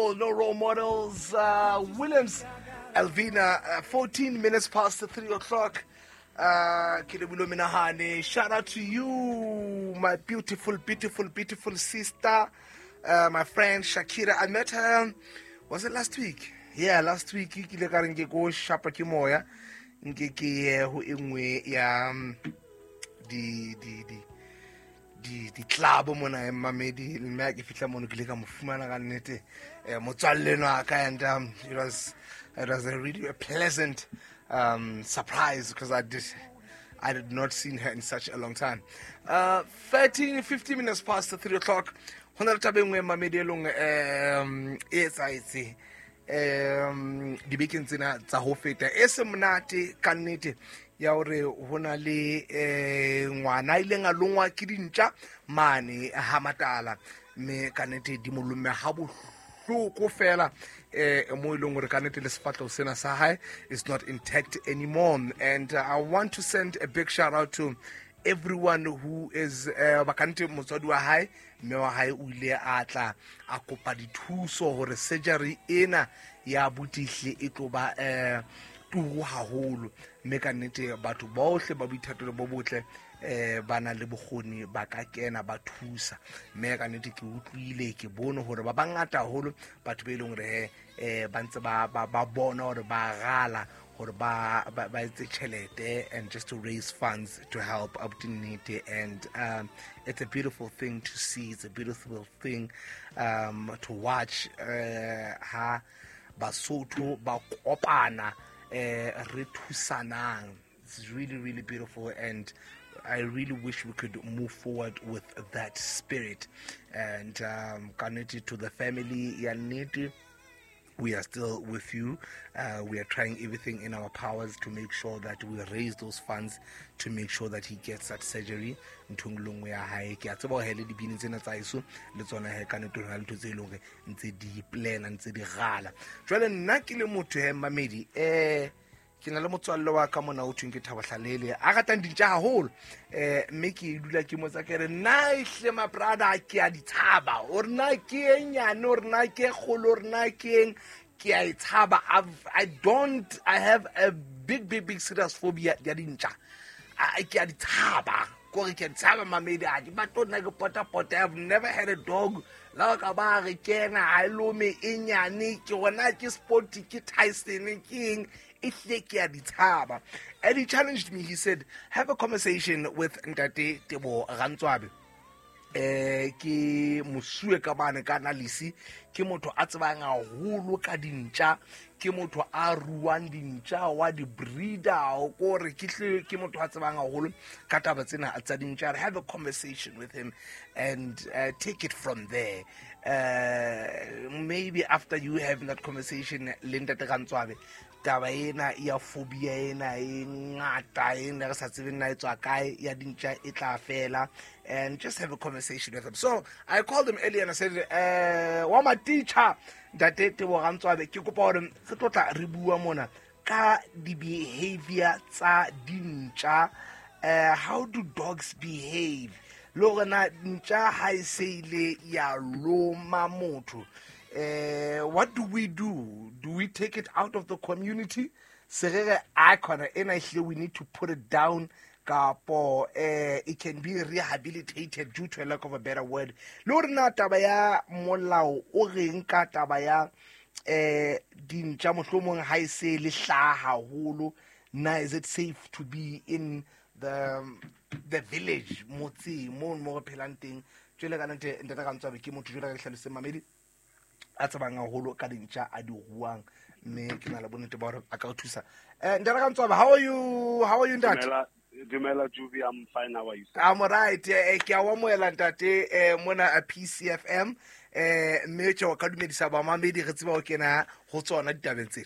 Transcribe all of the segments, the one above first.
Paul, No Role Models, Williams, Alvina, 14 minutes past the 3 o'clock. Ke lebile menahane. Shout out to you, my beautiful, beautiful, beautiful sister, my friend Shakira. I met her, was it last week? Yeah, last week. Ke ile ka re nke ko shapa ke moya, nke ke ye ho e nngwe ya di di di di di club mona e mamedi, mme ha ke fihla mono ke ile ka mo fumana ka nnete, motswalle enwa ka, and it was a really a pleasant surprise because I did not seen her in such a long time. 13 50 minutes past the 3 o'clock. Ho na le taba e nngwe, mamedi, e leng e etsahetse dibekeng tsena tsa ho feta, e se monate ka nnete, ya hore ho na le ngwana a ileng a longwa ke dintja mane ha Matala, mme ka nnete di mo lomme ha bohloko fela, mo e leng hore ka nnete le sefahleho sena sa hae is not intact anymore. And I want to send a big shout out to everyone who is ba ka nnete motswadi wa hae, mme wa hae, o ile a tla a kopa dithuso hore surgery ena ya botihle e tlo ba turu haholo, mme ka nnete batho bohle ba boithatelo bo botle ba na le bokgoni ba ka kena ba thusa. Mme ka nnete ke utlwile, ke bone hore ba bangata haholo batho be leng hore ba ntse ba bona hore ba rala hore ba etse tjhelete and just to raise funds to help abuti Nnete. And it's a beautiful thing to see, it's a beautiful thing to watch ha Basotho ba kopana, re thusanang. It's really, really beautiful, and I really wish we could move forward with that spirit. And ka nnete, to the family ya Nnete, we are still with you. We are trying everything in our powers to make sure that we raise those funds to make sure that he gets that surgery. Nthong le nngwe ya hae, ke a tseba hore le dibini tsena tsa heso le tsona he ka nnete ho na le ntho tse leng hore ntse di plana, ntse di gala. Jwale nna ke le motho he, mamedi, ke na le motswalle wa ka mona o thweng ke Thabo Hlalele, a ratang dintja haholo, mme ke dula ke motsa, ke re, "Nna ehle, my brother, ke a di tshaba, ore na ke e nyane, ore na ke e kgolo, ore na ke eng, ke a e tshaba." I don't, I have a big, big, big serious phobia ya dintja. Ke a di tshaba, kore ke a di tshaba, mamedi, a di batle nna ke potapota. I've never had a dog. La ka ba re kena ha e lome e nyane, ke gona ke Spot, ke Tyson, ke eng, e hlile ke a di tshaba. And he challenged me. He said, "Have a conversation with Ntate Tebo Rantswabe." Ke mosuwe ka bane ka analysis, ke motho a tsebang haholo ka dintja, ke motho a ruang dintja, wa di-breeder, kore ke hle ke motho a tsebang haholo ka taba tsena tsa dintja. Have a conversation with him and take it from there. Maybe after you having that conversation le Ntate Rantswabe, taba ena ya phobia ena e ngata ena re sa tsebeng na e tswa kae ya dintja e tla fela, and just have a conversation with him. So I called him earlier and I said, "Wa ma teacher, Ntate Tebo Rantswabe, ke kopa hore re tlo tla re bua mona ka di-behavior tsa dintja. How do dogs behave, le hore na ntja ha e se ile ya loma motho, what do we do? Do we take it out of the community, se re re a khona ena ehlile we need to put it down, kapo it can be rehabilitated, due to a lack of a better word? Le hore na taba ya molao o reng ka taba ya dintja, mohlomong ha e se le hlaha haholo, na is it safe to be in the village, motseng mo mo re phelang teng?" Jwale ka nnete, Ntate Rantswabe ke motho, jwale ka ke hlalositseng, mamedi, a tsebang haholo ka dintja, a di ruang, mme ke na le bonnete ba hore a ka o thusa. Ntate Rantswabe, how are you? How are you, ntate? Dumela, dumela Jubi, I'm fine. How are you, sir? I'm alright. Ke a o amohela, ntate, mona a PCFM, mme tjhe, o ka dumedisa bamamedi, re tseba ho kena ho tsona ditabeng tsena.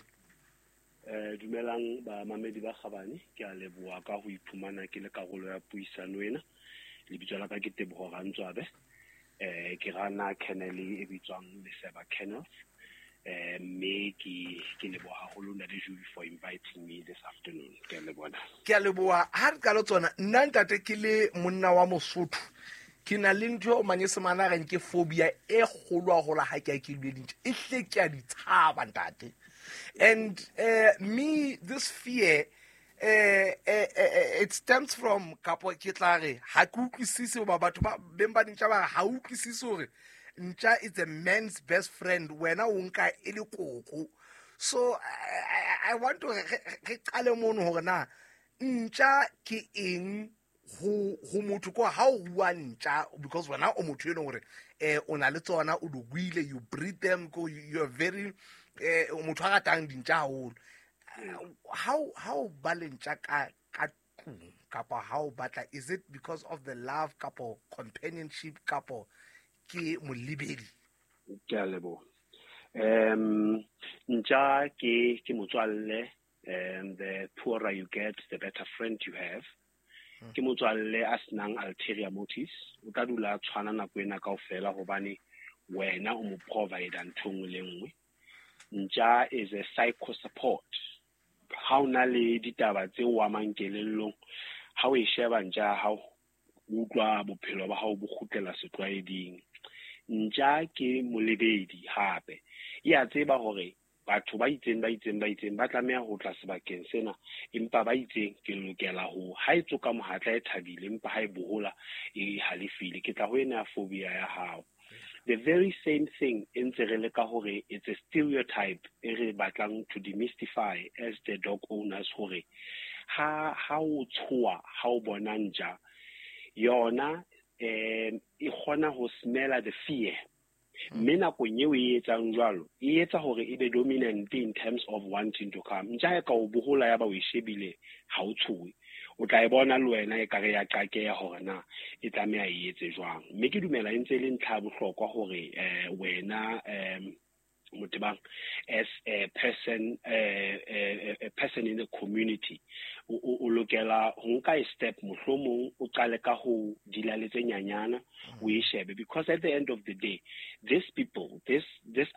Dumelang bamamedi ba kgabane, ke a leboha ka ho iphumana ke le karolo ya puisano ena. Lebitso la ka ke Teboho Rantswabe. Ke rana kennel e bitswang Leseba Kennels. Mme ke leboha haholo, Ntate Jubi, for inviting me this afternoon. Ke a leboha. Ke a leboha. Ha re qala tsona, nna, ntate, ke le monna wa Mosotho, Ke na le ntho eo Manyesemane a reng ke phobia e kgolo haholo ha ke a ke lwe dintja. E hle ke a di tshaba, ntate. And me, this fear, it stems from, kapo ke tla re ha ke utlwisise hoba batho ba beng ba dintja ba re ha utlwisise hore ntja is a man's best friend, wena o nka e le koko. So I want to re qale mono hore na ntja ke eng ho motho ko ha o rua ntja, because wena o motho e leng hore o na le tsona, o di ruile, you breed them, ko you are very motho a ratang dintja haholo. How ba le ntja ka tlung kapa ha o batla, is it because of the love kapo companionship kapo ke molebedi? Ke a leboha. Ntja ke motswalle, and the poorer you get, the better friend you have. Ke motswalle a senang ulterior motives. O tla dula a tshwana nako ena kaofela hobane wena o mo provide ntho nngwe le nngwe. Ntja is a psycho support. Ha o na le ditaba tse o amang kelellong, ha o e sheba ntja ya hao, o utlwa bophelo ba hao bo kgutlela setlwaeding. Ntja ke molebedi hape. E a tseba hore batho ba itseng, ba itseng, ba itseng ba tlameha ho tla sebakeng sena, empa ba itseng ke lokela ho, ha e tsoka mohatla e thabile, empa ha e bohola e halefile. Ke tla ho ena ya phobia ya hao. The very same thing e ntse re leka hore it's a stereotype e re batlang to demystify as the dog owners, hore ha o tshoha ha o bona ntja, yona e kgona ho smella the fear. Mme nakong eo e etsang jwalo, e etsa hore e be dominant in terms of wanting to come. Ntja e ka o bohola ya ba o e shebile, ha o tshohe. O tla e bona le wena e kare ya qakeha hore na e tlameha e etse jwang. Mme ke dumela e ntse e le ntlha ya bohlokwa hore wena Motebang, as a person, a person in the community, o lokela ho nka a step, mohlomong o qale ka ho dila le tse nyanyana, o e shebe, because at the end of the day, these people, these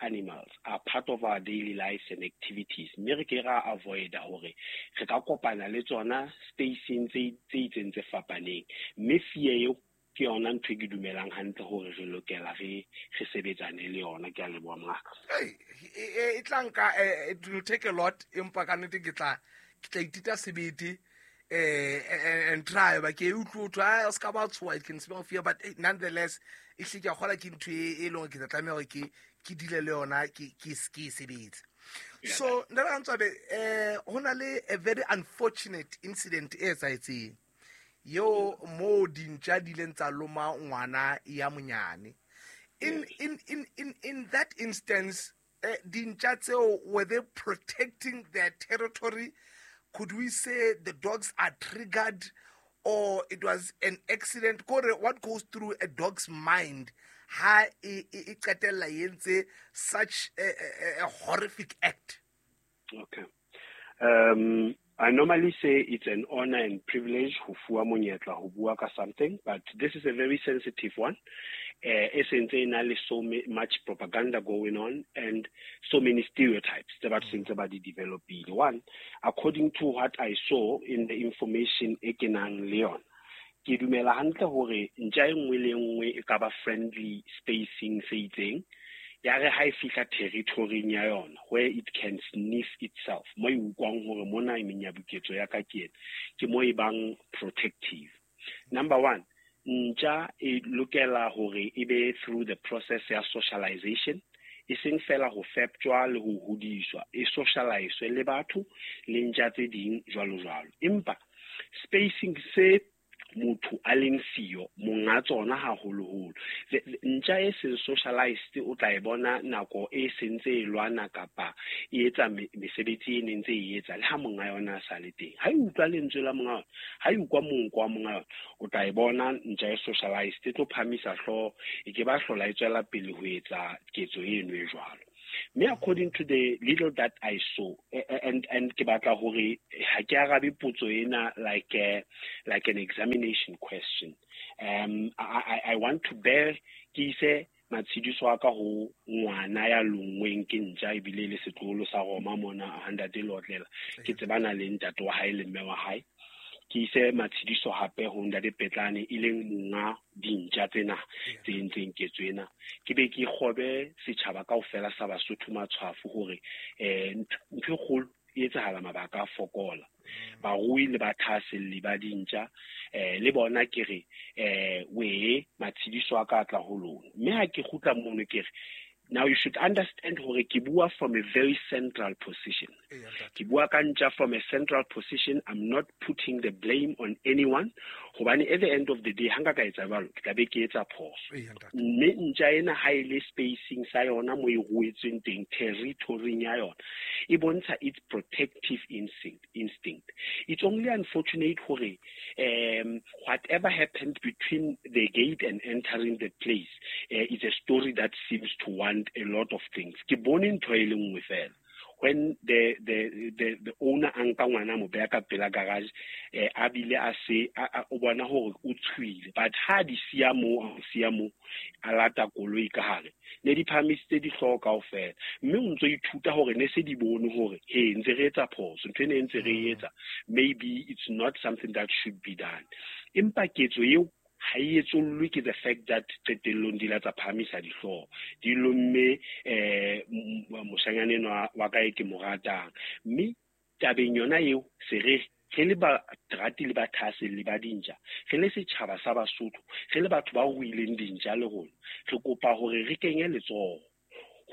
animals are part of our daily lives and activities. Mme re ke ra avoid hore re ka kopana le tsona spacing tse itseng tse fapaneng. Mme fear eo ke yona ntho e ke dumelang hantle hore re lokela re sebetsane le yona. Ke a leboha, mongaka. Hey, e tla nka, it will take a lot, empa ka nnete ke tla itita sebete and try ba ke utlwe ho thwe, ah, o ska ba tshoha, it can smell fear, but nonetheless e hle ke a kgola ke ntho e leng hore ke tla tlameha hore ke dile le yona, ke e sebetse. So ntate Rantswabe, ho na le a very unfortunate incident e etsahetseng yo mo dintja di ileng tsa loma ngwana ya monyane. In that instance, dintja tseo, were they protecting their territory? Could we say the dogs are triggered, or it was an accident? Kore, what goes through a dog's mind ha e qetella e entse such a horrific act? Okay. I normally say it's an honor and privilege ho fuwa monyetla ho bua ka something, but this is a very sensitive one. E sentse e na le so much propaganda going on and so many stereotypes tse batho sentse ba di developile. One, according to what I saw in the information e ke nang le yona, ke dumela hantle hore ntja e nngwe le nngwe e ka ba friendly spacing se itseng, ya re ha e fihla territory-ing ya yona where it can sniff itself, mo e utlwang hore mona e menyabuketso ya ka ke ena, ke mo e bang protective. Number one, ntja e lokela hore e be through the process ya socialization, e seng fela ho feptjwa le ho hodiswa, e socialize le batho le ntja tse ding jwalo jwalo. Empa spacing se motho a leng siyo, monga tsona haholoholo, ntja e seng socialized o tla e bona nako e sentse e lwana kapa e etsa mesebetsi e neng ntse e etsa le ha monga yona a sa le teng. Ha e utlwa lentswe la monga yona, ha e utlwa monko wa monga yona, o tla e bona ntja e socialized e tlo phamisa hlooho, e ke ba hlola e tswela pele ho etsa ketso eno e jwalo. Mme according to the little that I saw, and ke batla hore ha ke arabe potso ena like an examination question. I want to bear ke ise matshidiso a ka ho ngwana ya lonngweng ke ntja ebile le setloholo sa Roma mona ha ntate Lotlela. Ke tsebana le ntate wa hae le mme wa hae. Ke ise matshidiso hape ho Ntate Petlane, e leng monga dintja tsena tse entseng ketso ena. Ke be ke kgobe setjhaba kaofela sa Basotho matshwafo hore ntho e kgolo e etsahala mabaka a fokola. Barui le bathahaselli ba dintja le bona ke re we matshidiso a ka tla ho lona. Mme ha ke kgutla mono ke re, now you should understand hore ke bua from a very central position. Ke bua ka ntja from a central position. I'm not putting the blame on anyone. Hobane at the end of the day, ha nka ka etsa jwalo, ke tla be ke etsa phoso. Mme ntja ena ha e le spacing sa yona mo e ruetsweng teng, territory ya yona, e bontsha its protective instinct. It's only unfortunate hore whatever happened between the gate and entering the place is a story that seems to want a lot of things. Ke bone ntho e le nngwe fela. When the owner a nka ngwana mo beha ka pela garage, a bile a se o bona hore o tshuile, but ha di siya mo, a lata koloi ka hare, ne di phahamisitse dihlooho kaofela, mme o ntso ithuta hore ne se di bone hore he ntse re etsa phoso, ntho ene ntse re etsa, maybe it's not something that should be done. Empa ketso eo ha e etsollwe ke the fact that qetellong di la tsa phahamisa dihlooho, di lomme moshanyana enwa wa ka e ke mo ratang. Mme tabeng yona eo se re re le barati le bathahaselli ba dintja, re le setjhaba sa Basotho, re le batho ba ruileng dintja le rona, re kopa hore re kenye letsoho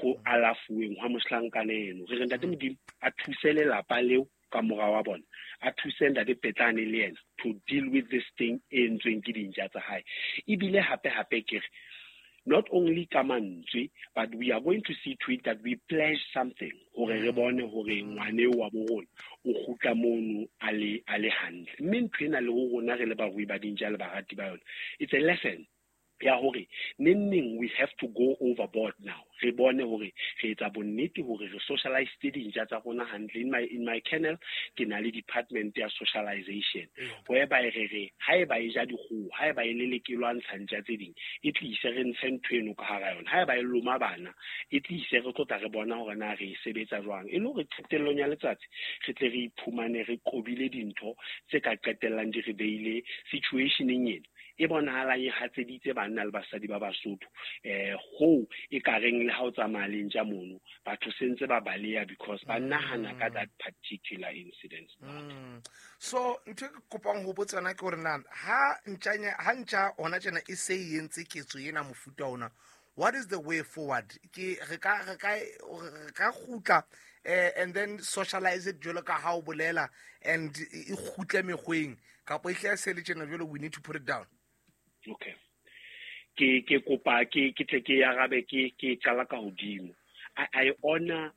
ho alafuweng hwa mohlankana eno. Re re Ntate Modimo a thuse lelapa leo ka mora wa bona, a thuse Ntate Petlane le yena to deal with this thing e entsweng ke dintja tsa hae. Ebile hape hape ke re, not only ka mantswe, but we are going to see to it that we pledge something hore re bone hore ngwane wa bo rona o kgutla mono a le hantle. Mme ntho ena le ho rona re le barui ba dintja le barati ba yona, it's a lesson ya hore neng we have to go overboard now. Re bone hore re etsa bonnete hore re socialize dintja tsa rona hantle. In my kennel ke na le department ya socialization, whereby re re haeba e ja dikgoho, haeba e lelekelwa ntsha ntja tse ding, e tlise re ntshe ntho eno ka hara yona. Haeba e loma bana, e tlise re tlo tla re bona hore na re e sebetsa jwang, e le hore qetellong ya letsatsi re tle re iphumane re qobile dintho tse ka qetellang di re beile situationeng ena e bonahalang e hatseditse banna le basadi ba Basotho. Ho e ka reng le ha o tsamaya le ntja mono, batho sentse ba baleha because ba nahana ka that particular incident. So ntho e ke kopang ho botsa yona ke hore na ha ntja hona tjena e se e entse ketso ena mofuta ona, what is the way forward? Ke re ka kgutla and then socialize it jwalo ka ha o bolela and e kgutle mekgweng, kapa e hle se le tjena jwalo, we need to put it down. Okay. Ke kopa ke tle ke arabe ke qala ka hodimo. I honor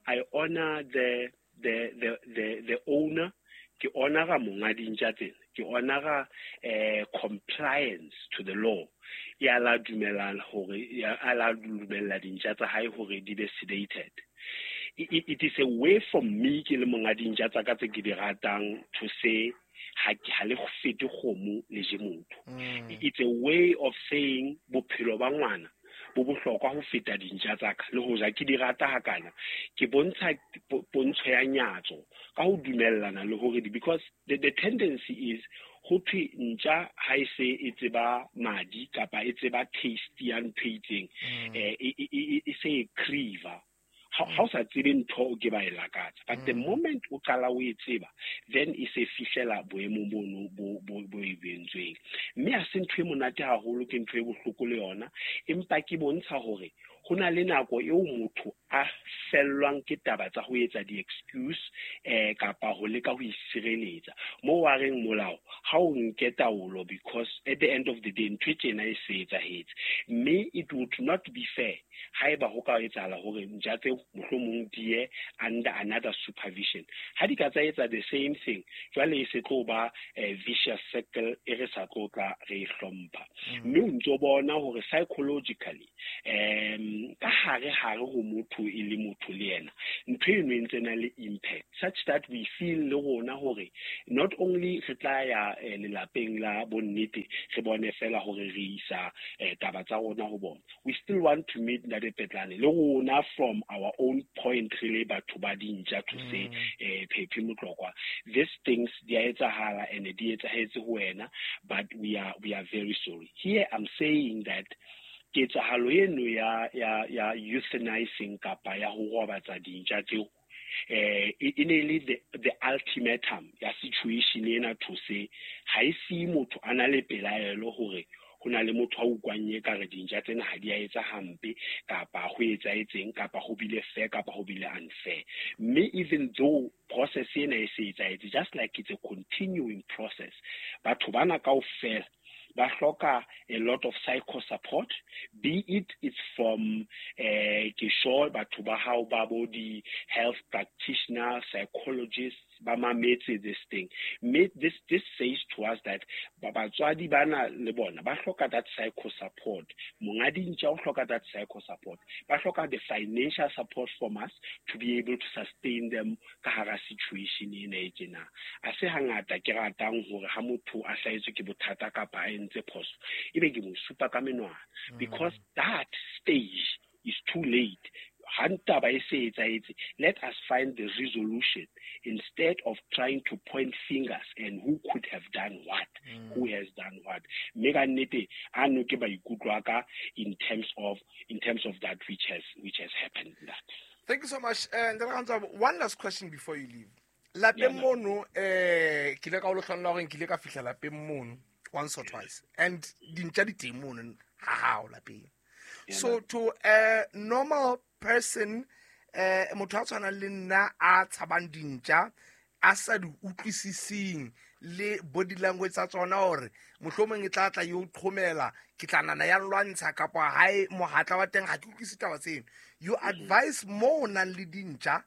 the owner. Ke honora monga dintja tsena. Ke honora compliance to the law. Ya la dumela hore ya la dumella dintja tsa hae hore di be sedated. It is a way for me ke le monga dintja tsa ka tse ke di ratang to say ha le fete kgomo le je motho. It's a way of saying bophelo ba ngwana bo bohlokwa ho feta dintja tsa ka, le hoja ke di rata hakana, ke bontsha pontsho ya nyatso ka ho dumellana le hore, because the tendency is ho thwe ntja ha e se e tseba madi kapa e tseba taste ya ntho e itseng, e se e crave. Ha o sa tsebe ntho o ke ba e lakatsa, but the moment o qala o e tseba, then e se fihlela boemong bono bo e bentsweng. Mme ha se ntho e monate haholo, ke ntho e bohloko le yona, empa ke bontsha hore ho na le nako eo motho a fellwang ke taba tsa ho etsa di-excuse kapa ho leka ho isireletsa. Moo wa reng molao ha o nke taolo, because at the end of the day ntho e tjena e se etsahetse. Mme it would not be fair haeba ho ka etsahala hore ntja tseo mohlomong di ye under another supervision. Ha di ka tsa etsa the same thing, jwale e se tlo ba vicious circle e re sa tlo tla re e hlompha. Mme o ntso bona hore psychologically ka hare hare ho motho motho e le motho le yena, ntho eno e ntse na le impact such that we feel le rona hore not only re tla ya lelapeng la bonnete re bone fela hore re isa taba tsa rona ho bona, we still want to meet Ntate Petlane le rona from our own point re le batho ba dintja to say Phephi Motlokwa, these things di a etsahala and di etsahetse ho wena, but we are very sorry. Here I'm saying that ketsahalo eno ya euthanizing kapa ya ho robatsa dintja tseo e ne le the ultimatum ya situation ena to say ha e si motho a na le pelaelo hore ho na le motho a utlwang e ka re dintja tsena ha di a etsa hampe kapa ho etsahetseng kapa ho bile fair kapa ho bile unfair. Mme even though process ena e se etsahetse, just like it's a continuing process, batho bana kaofela ba hloka a lot of psycho support, be it it's from ke sure batho ba hao ba bo di health practitioner, psychologists ba mametse this thing. Mme this says to us that batswadi bana le bona ba hloka that psycho support, monga dintja o hloka that psycho support, ba hloka the financial support from us to be able to sustain them ka hara situation ena e tjena. A se hangata ke ratang hore ha motho a hlahetswe ke bothata kapa a entse phoso ebe ke mo supa ka menwana, because that stage is too late. Ha ntaba e se etsahetse, let us find the resolution instead of trying to point fingers and who could have done what, who has done what. Mme ka nnete ano ke maikutlo a ka in terms of that which has happened. That. Thank you so much. One last question before you leave. Lapeng mono ke ile ka o lotlholla hore ke ile ka fihla lapeng mono once or twice, and dintja di teng mono ha hao lapeng. So to a normal person, motho a tshwanang le nna a tshabang dintja, a sa di utlwisising le body language tsa tsona hore mohlomong e tla tla yo qhomela, ke tla nana ya lwantsha kapa hae mohatla wa teng, ha ke utlwisise taba tseno. You advise mo nang le dintja,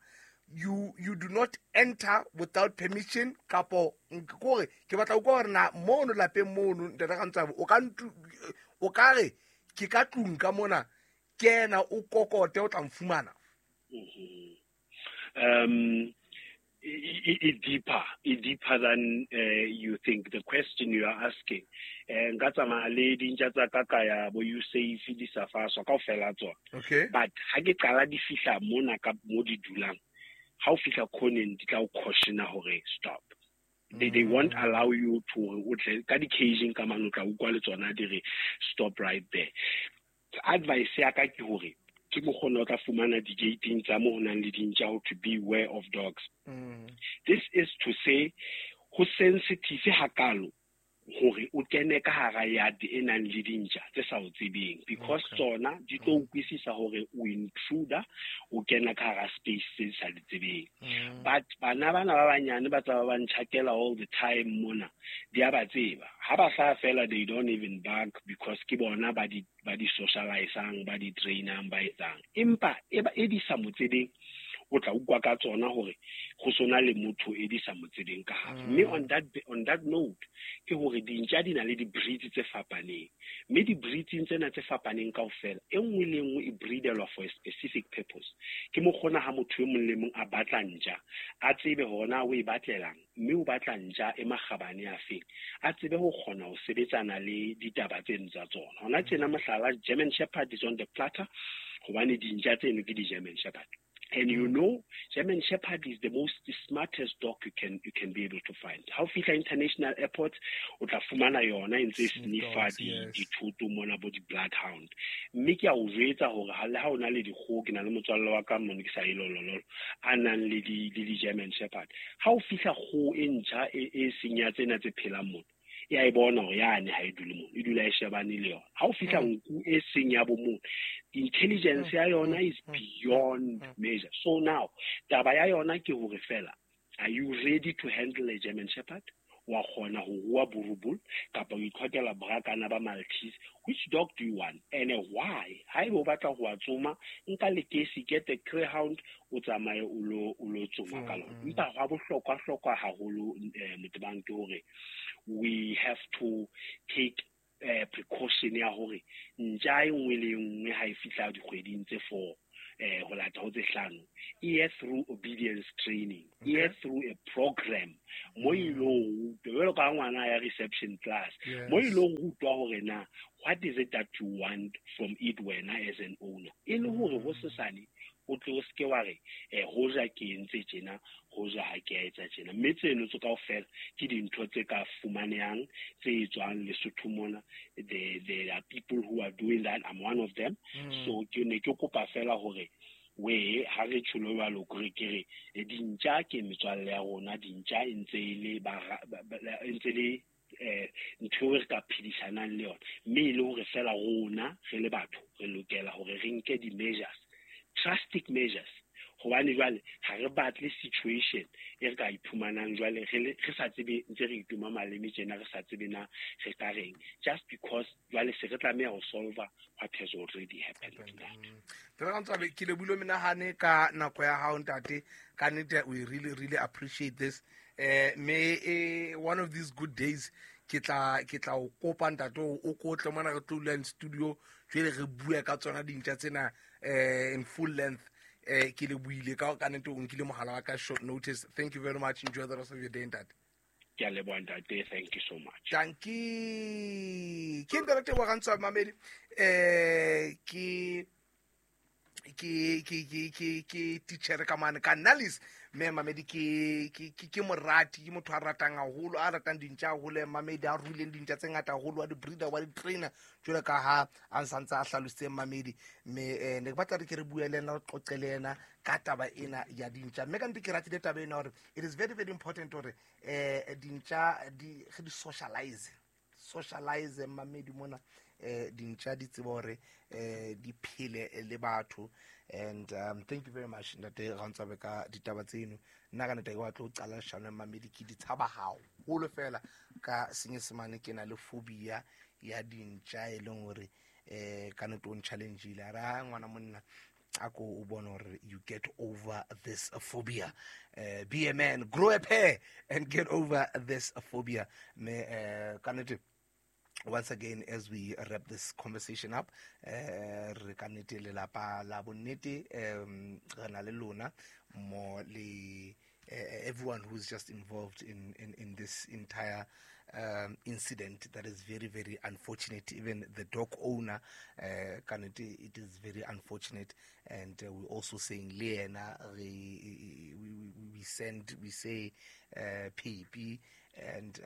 you do not enter without permission kapo kore ke batla o kwa hore na mono lapeng mono Ntate Rantswabo o ka re ke ka tlung ka mona kena o kokote o tla mfumana. It deeper than you think. The question you are asking, nka tsamaya le dintja tsa ka ka ya bo you safe di sa faswa kaofela tsona. Okay. But ha ke qala di fihla mona ka mo di dulang, ha o fihla khoneng di tla o caution hore stop. They won't allow you to o tle ka di caging ka mano tla utlwa le tsona di re stop right there. Advice ya ka ke hore ke mokgona o tla fumana di-gating tsa mo ho nang le dintja ho to beware of dogs. This is to say ho sensitive hakalo hore o kene ka hara yard e nang le dintja tse sa o tsebeng, because tsona di tlo utlwisisa hore o intruder, o kena ka hara space tse sa di tsebeng. But bana bana ba banyane ba tsa ba ntjhakela all the time mona, di a ba tseba. Ha ba hlaha fela they don't even bark because ke bona ba di socializang, ba di trainang, ba etsang. Empa e di sa mo tsebeng, o tla utlwa ka tsona hore go sona le motho e di sa mo tsebeng ka hare. Mme on that note ke hore dintja di na le di-breeds tse fapaneng, mme di-breeds tsena tse fapaneng kaofela e nngwe le nngwe e breedelwa for a specific purpose. Ke mokgona ha motho e mong le mong a batla ntja a tsebe hore na o e batlelang, mme o batla ntja e makgabane a feng, a tsebe ho kgona ho sebetsana le ditaba tseno tsa tsona. Hona tjena mohlala, German Shepherd is on the platter hobane dintja tseno ke di-German Shepherd. And you know, German Shepherd is the most smartest dog you can be able to find. Ha o fihla international airport, o tla fumana yona e ntse sniffa dithoto mona bo di-bloodhound. Mme ke a o jwetsa hore ha le ha o na le dikgoho, ke na le motswalle wa ka mono ke sa e lolololo, a nang le di-German Shepherd. Ha o fihla kgoho e ntjha e seng ya tsena tse phelang mona, ya e bona hore yane ha e dule mono, e dula e shebane le yona. Ha o fihla nku e seng ya bo mono, intelligence ya yona is beyond measure. So now, taba ya yona ke hore fela, are you ready to handle a German Shepherd? Wa kgona ho rua Boerboel kapa o itlhokela brakana ba Maltese? Which dog do you want and why? Haeba o batla ho tsoma, nka lekesi, get a greyhound, o tsamaye o lo tsoma ka lona. Empa hwa bohlokwa haholo Motebang ke hore we have to take precaution ya hore ntja e nngwe le nngwe ha e fihla dikgweding tse 4 ho lata ho tse 5 e ye through obedience training, e ye through a program mo ilo rutwa jwalo ka ngwana ya reception class, mo ilo rutwa hore na what is it that you want from it wena as an owner, e le hore ho sesane o tle o seke wa re hoja ke entse tjena, hoja ha ke a etsa tjena. Mme tseno tse kaofela ke dintho tse ka fumanehang tse tswang Lesotho mona. There are people who are doing that. I'm one of them. So ke ne ke kopa fela hore we ha re tjholo jwalo ke re dintja ke metswalle ya rona, dintja e ntse le ntse le ntho e re ka phedisanang le yona, mme e le hore fela rona re le batho re lokela hore re nke di-measures, drastic measures, hobane jwale ha re batle situation e re ka iphumanang jwale re sa tsebe, ntse re itoma maleme tjena, re sa tsebe na re ka reng, just because jwale se re tlameha ho solve what has already happened. Ntate ke lebohile menahane ka nako ya hao ntate, ka nnete we really really appreciate this. Me one of these good days ke tla o kopa ntate o kotle mona re tlo dula in studio jwale re bua ka tsona dintja tsena in full length. Ke le buile ka nnete o nkile mohala wa ka short notice. Thank you very much. Enjoy the rest of your day ntate. Ke a leboha ntate, thank you so much. Dankie. Ke ntate wa Rantswa Mamedi. Ke teacher ka mane ka Nalis, mme Mamedi ke morati, ke motho a ratang haholo, a ratang dintja haholo. Mamedi a ruileng dintja tse ngata haholo, wa di-breeder, wa di-trainer jwalo ka ha a santse a hlalositse Mamedi. Mme ne ke batla re ke re bue le ena, re qoqe le ena ka taba ena ya dintja. Mme ka nnete ke ratile taba ena hore it is very very important hore dintja di re di socialize Mamedi mona. Dintja di tsebe hore di phele le batho. And thank you very much ntate Rantswabe ka ditaba tseno. Nna ka nnete ke batla ho qala leshano Mamedi, ke di tshaba haholo fela ka senyesemane, ke na le phobia ya dintja e leng hore ka nnete o nchallenge-ile a re ha ngwana monna a ko o bone hore you get over this phobia. Be a man, grow a pair and get over this phobia. Mme ka nnete once again, as we wrap this conversation up, re ka nnete lelapa la bonnete, re na le lona mo le everyone who's just involved in this entire incident that is very, very unfortunate. Even the dog owner, it is very unfortunate. And we're also saying Lena, we say PEP, and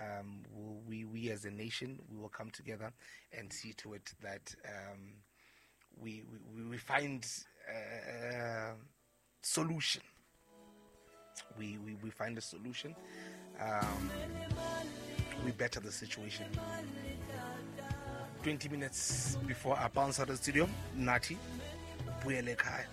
we as a nation, we will come together and see to it that we find a solution. We find a solution. We better the situation. 20 minutes before I bounce out of the studio, Nati, Buyele Kaya.